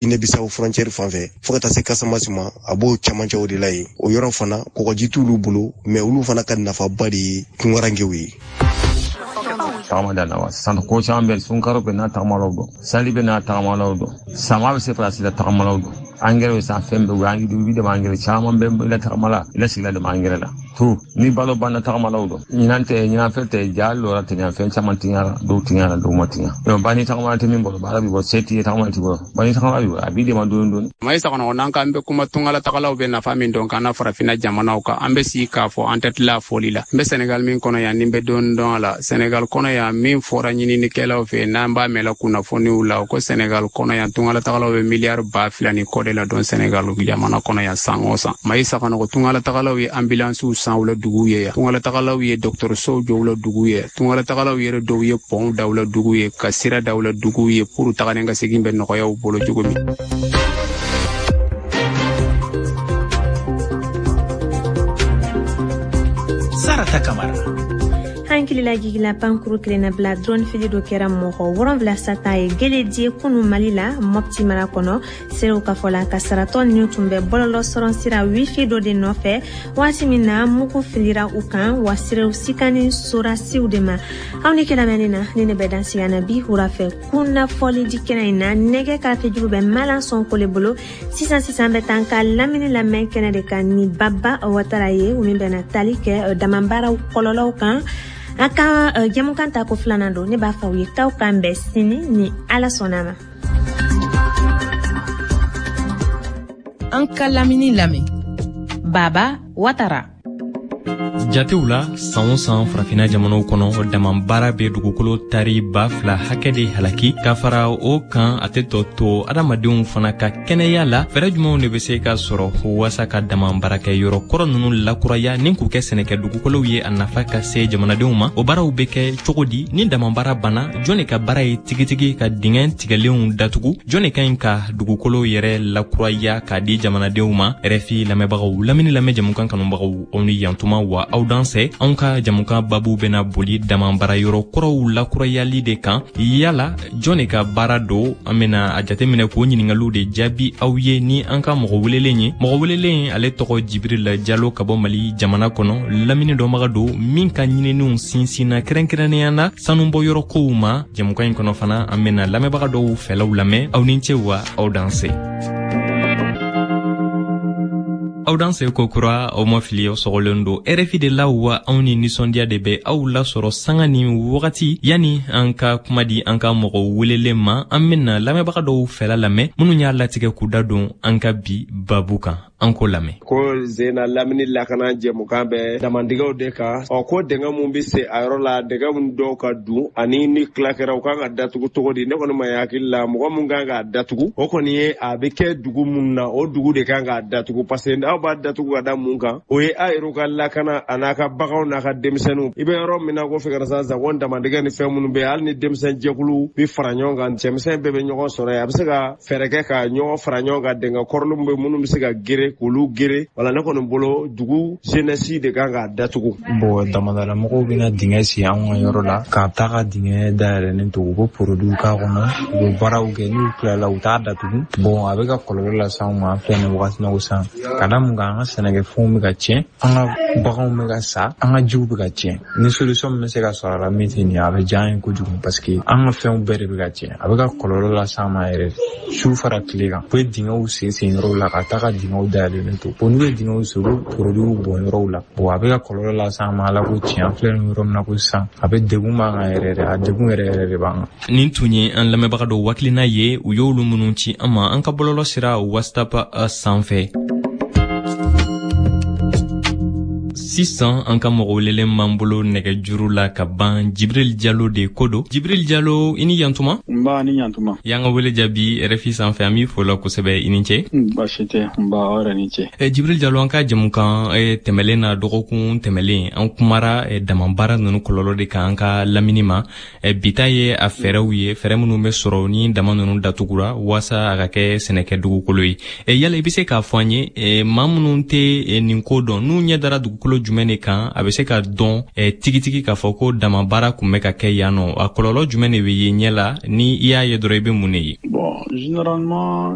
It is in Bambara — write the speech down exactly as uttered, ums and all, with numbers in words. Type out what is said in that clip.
Guinée-Bissau frontière fan fɛ fo ka taa se Casamance ma, a b'o camancɛw de la yen. O yɔrɔ fana kɔgɔji t'olu bolo, mais olu fana ka nafaba de ye tungarankew ye. Tagama da la wa sisan ko caman bɛ sunkaro bɛ n'a tagamalaw dɔn, sali bɛ n'a tagamalaw dɔn, sama bɛ se farasi la tagamalaw dɔn, angɛrɛ bɛ san fɛn bɛɛ, u bɛ dama angɛrɛ caman bɛ i la tagama la, i la sigila dama angɛrɛ la to ni balo banna tagamalaw dɔn. Ɲinan tɛ ɲinan fɛn tɛ ja lɔra tɛ fɛn caman tiɲara, dɔw tiɲara, dɔw ma tiɲa. Donc ba ni tagama tɛ min bolo, baara b'i bɔ, se t'i ye, tagama t'i bolo, ba ni tagama b'i bolo, a b'i dɛmɛ dɔɔni dɔɔni. Mayi Sakɔnɔgɔ, n'an k'an bɛ kuma tungalatagalaw bɛ nafa min dɔn k'an na farafinna jamanaw kan, an bɛ sigi k'a fɔ an tɛ tila fɔli la. N bɛ Senegal min kɔnɔ yan, ni n bɛ dɔɔni dɔn a la. Senegal kɔnɔ yan, min fɔra ɲininikɛlaw fɛ, n'an b'a mɛn la kunnafoniw la, ko Senegal kɔnɔ yan tungalatagalaw bɛ miliyari ba fila ni kɔ de la dɔn Senegal jamana kɔnɔ yan san o san. Mayi Sakɔnɔgɔ, tungalatagalaw ye ambulansiw san u la duguw ye yan, tungalatagalaw ye dɔgɔtɔrɔsow jɔ u la duguw ye, tungalatagalaw yɛrɛ dɔw ye pɔnw da u la duguw ye, ka sira da u la duguw ye pour tagalen ka segin bɛ nɔgɔya u bolo cogo min. Sarata Kamara. Hankilila jigila pankuru kelenna bila drone fili dɔ kɛra mɔgɔ wolonwula sata ye Geledie kunu Mali la, Mopti mara kɔnɔ. Serew ka fɔ la, kasaratɔ ninnu tun bɛ bɔlɔlɔ sɔrɔ sira wifi dɔ de nɔfɛ waati min na mugu filira u kan, wa serew sikani sorasiw de ma. Aw ni kɛlamɛnni na ni ne bɛ dan sigi na bi wura fɛ kunnafɔli di kɛnɛ in na. Nɛgɛ karafejuru bɛ Malan Sɔnko le bolo. Sisan sisan bɛ taa ka lamini lamɛn kɛnɛ de kan ni Baba Watara ye, o min bɛna tali kɛ damanbaaraw kɔlɔlɔw kan. A ka jɛmukan ta ko filanan don, ne b'a fɔ aw ye k'aw k'an bɛn sini ni Ala sɔnna ma. An ka lamini lamɛn Baba Watara. Jatew la, san o san farafinna jamanaw kɔnɔ, damanbaara bɛ dugukolo tari ba fila hakɛ de halaki. Ka fara o kan, a tɛ tɔ to adamadenw fana ka kɛnɛya la. Fɛɛrɛ jumɛnw de bɛ se ka sɔrɔ waasa ka damanbaarakɛ yɔrɔ kɔrɔ ninnu lakuraya ni k'u kɛ sɛnɛkɛ dugukolow ye, a nafa ka se jamanadenw ma? O baaraw bɛ kɛ cogo di? Ni damanbaara banna, jɔn de ka baara ye tigitigi ka dingɛ tigɛlenw datugu? Jɔn de ka ɲi ka dugukolo yɛrɛ lakuraya k'a di jamanadenw ma? R F I lamɛnbagaw, lamini lamɛn jamukan kanubagaw, aw ni yantuma wa aw dansɛ. Anw ka jamukan babu bɛna boli damanbaara yɔrɔ kɔrɔw lakurayali de kan. Yala jɔn de ka baara don? An bena a jateminɛ k'o ɲiningaliw de jaabi aw ye ni an ka mɔgɔ welelen ye. Mɔgɔ welelen ale tɔgɔ Jibril Jalo, ka bɔ Mali jamana kɔnɔ, lamini dɔnbaga don min ka ɲininiw sinsinna kɛrɛnkɛrɛnnenya la sanubɔyɔrɔ kow ma. Jamukan in kɔnɔ fana, an bena lamɛnbaga dɔw fɛlaw lamɛn. Aw ni ce wa aw dansɛ. Aw danse ko kura, aw ma fili, aw sɔgɔlen don R F I de la wa anw ni nisɔndiya de bɛ aw lasɔrɔ sanga ni wagati. Yanni an ka kuma di an ka mɔgɔ welelen ma, an bena lamɛnbaga dɔw fɛla lamɛn minnu y'a latigɛ k'u da don an ka bi babu kan. An k'o lamɛn. Ko zena lamini lakana jɛmukan bɛ damandigɛw de kan. Ɔ ko dingɛ mun bɛ se a yɔrɔ la, dingɛ mun dɔw ka dun ani ni tila kɛra u kan ka datugu cogo di? Ne kɔni ma hakili la, mɔgɔ mun kan k'a datugu, o kɔni ye a bɛ kɛ dugu mun na, o dugu de kan k'a datugu, parce que aw b'a datugu ka da mun kan, o ye a yɛrɛ ka lakana a n'a ka baganw n'a ka denmisɛnninw. I bɛ yɔrɔ min na ko fɛ ka sa ko damandigɛ ni fɛn minnu bɛ, hali ni denmisɛn jɛkulu bɛ fara ɲɔgɔn kan, cɛmisɛn bɛɛ bɛ ɲɔgɔn sɔrɔ yen, a bɛ se ka fɛɛrɛ kɛ ka ɲɔgɔn fara ɲɔgɔn kan, dingɛ kɔrɔlenw bɛ minnu bɛ se ka gere k'olu gere. Wala ne kɔni bolo, dugu jeunesse de kan k'a datugu. Bon, damadala mɔgɔw bɛna dingɛ sen anw ka yɔrɔ la, k'a ta ka dingɛ dayɛlɛnnen to, u bɛ produit k'a kɔnɔ, u bɛ baaraw kɛ, n'u tilala u t'a datugu. Bon, a bɛ ka kɔlɔlɔ lase anw ma, an filɛ nin wagati la ko sisan, ka da mun kan, an ka sɛnɛkɛfɛnw bɛ ka tiɲɛ, an ka baganw bɛ ka sa, an ka jiw bɛ ka tiɲɛ. Ni solution min bɛ se ka sɔrɔ a la min tɛ nin ye, a bɛ diya an ye kojugu, parce que an ka fɛnw bɛɛ de bɛ ka tiɲɛ, a bɛ ka kɔlɔlɔ lase an ma yɛrɛ su fara tile kan. U bɛ dingɛw sen sen yɔrɔw la ka taa ka dingɛw dayɛlɛnnen to. Bon, n'u ye dingɛw sen, u bɛ produitw bɔn yɔrɔw la. Bon, a bɛ ka kɔlɔlɔ lase an ma, Ala ko tiɲɛ, an filɛ nin yɔrɔ min na ko sisan, a bɛ degun b'an kan yɛrɛ de, a degun yɛrɛ yɛrɛ de b'an kan. Nin tun ye an lamɛnbaga dɔw hakilina ye, u y'olu minnu ci an ma an ka bɔlɔlɔ sira WhatsApp sanfɛ. Sisan an ka mɔgɔ welelen b'an bolo nɛgɛjuru la ka ban, Jibril Jalo de ko don. Jibril Jalo, i ni yantuma. Nba, ni yantuma. Y'an ka wele jaabi R F I sanfɛ, an b'i fo la kosɛbɛ, i ni ce. Baasi tɛ, nba, aw yɛrɛ ni ce. Jibril Jalo, an ka jamukan tɛmɛlen na, dɔgɔkun tɛmɛlen, an kumara damanbaara ninnu kɔlɔlɔ de kan an ka lamini ma. Bi ta ye a fɛɛrɛw ye, fɛɛrɛ minnu bɛ sɔrɔ ni dama ninnu datugura waasa a ka kɛ sɛnɛkɛ dugukolo ye. Yala i bɛ se k'a fɔ an ye, maa minnu tɛ nin ko dɔn, n'u ɲɛ dara dugukolo jumɛn de kan a bɛ se ka dɔn eh, tigitigi k'a fɔ ko dama baara kun bɛ ka kɛ yan nɔ? A kɔlɔlɔ jumɛn de bɛ ye ɲɛ la? Ni i y'a ye dɔrɔn, i bɛ mun de ye? Bon, généralement